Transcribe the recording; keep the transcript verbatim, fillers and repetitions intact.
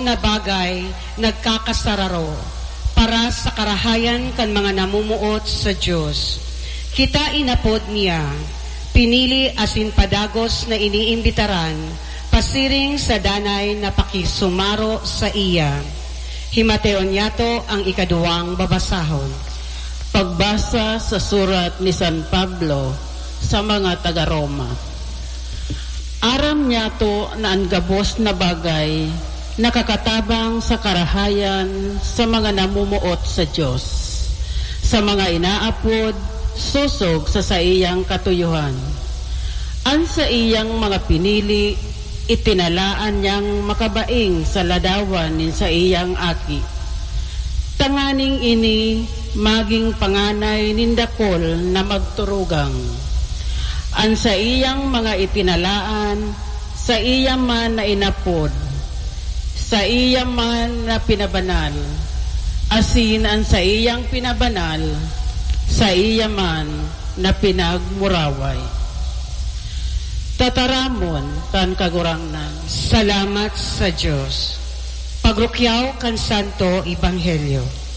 na bagay nagkakasararo para sa karahayan kan mga namumuot sa Dios. Kita inapod niya, pinili asin padagos na iniimbitaran pasiring sa danay na pakisumaro saiya. Himateon niyato ang ikaduwang babasahon. Pagbasa sa surat ni San Pablo sa mga taga Roma. Aram niyato na an gabos na bagay nakakatabang sa karahayan sa mga namumuot sa Dios, sa mga inaapod sosog sa saiyang katuyohan. An saiyang mga pinili, itinalaan niyang makabaing sa ladawan nin saiyang Aki, tanganing ini magin panganay nin dakul na magturugang. An saiyang mga itinalaan, saiya man na inapod, saiya man na pinabanal, asin an saiyang pinabanal, saiya man na pinagmuraway. Tataramon kan Kagurangnan. Salamat sa Dios. Pagrukyaw kan Santo Ebanghelyo.